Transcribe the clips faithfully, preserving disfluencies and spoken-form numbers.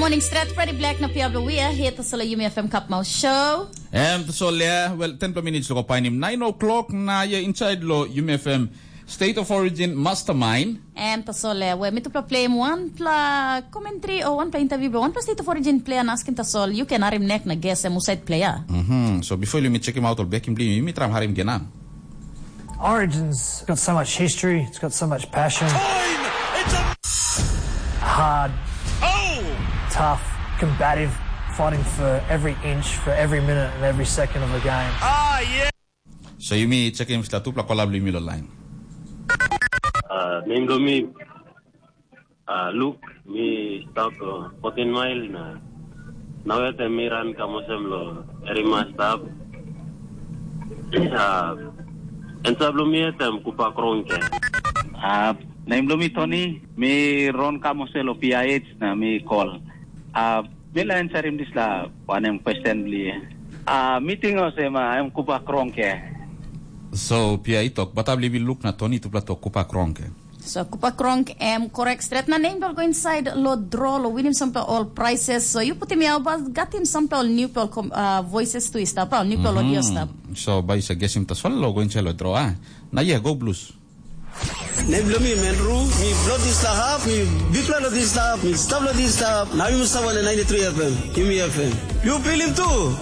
Morning stret, Freddy Black na Pia Blawia, here to solo Yumi F M Cup Mouth Show. Em tasol ya, well, ten minutes lo ko painim nine o'clock na ya inside lo Yumi F M State of Origin Mastermind. Em tasol ya, we mi tupla play em one pla commentary o one pla interview blo one pla State of Origin player na askim tasol, you can arim neck na guess em usaid player. Mhm. So before you mi check him out or back him bli mi tram harim gena. Origins got so much history, it's got so much passion. Hard, tough, combative, fighting for every inch, for every minute and every second of the game. So yumi check him sta tupla kolab bli mi lo line. Uh, name lo mi uh, Luke, mi stap uh, fourteen mile na nawete mi ran kamusem lo erima stap. Uh, ensab lo mi etem kupa krongke. Uh, name lo mi Tony, mi ron kamuse lo P I H na mi call. Uh, mi la answerim dispela wanem question bli. Uh, mi ting olsem uh, em kupa krongke. So Pia i tok, batabli bi Luke na Tony tupla tok kupa krongke. So kupa krong em korek stret na nem bel go inside lo draw lo winim sampela ol prices. So you putim ya ba gatim sampela ol new pel kom uh, voices tu i stap, ol new pel audio stap. So ba isa gesim tasol lo go inside lo draw ah. Na yeah, go blues. Nem blo mi Menru, mi blo dislap, mi bikpela lo dislap, mi stap lo dislap, na mi stap lo ninety-three F M, Yumi F M. You feel him too?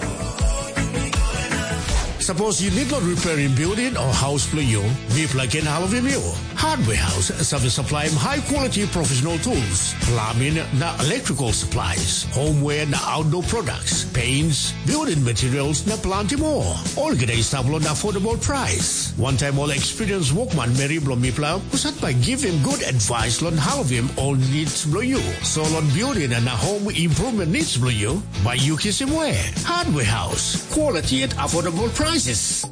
Suppose you need not repairing building or house for you, we plug in Halloween you. Hardware House service supply high quality professional tools, plumbing na electrical supplies, homeware na outdoor products, paints, building materials na plenty more. All gede stable on affordable price. One time all experience workman Mary Blomipla, who sat by give him good advice on Halloween all needs below you. So on building and home improvement needs below you, by you kiss him way. Hardware House, quality at affordable prices.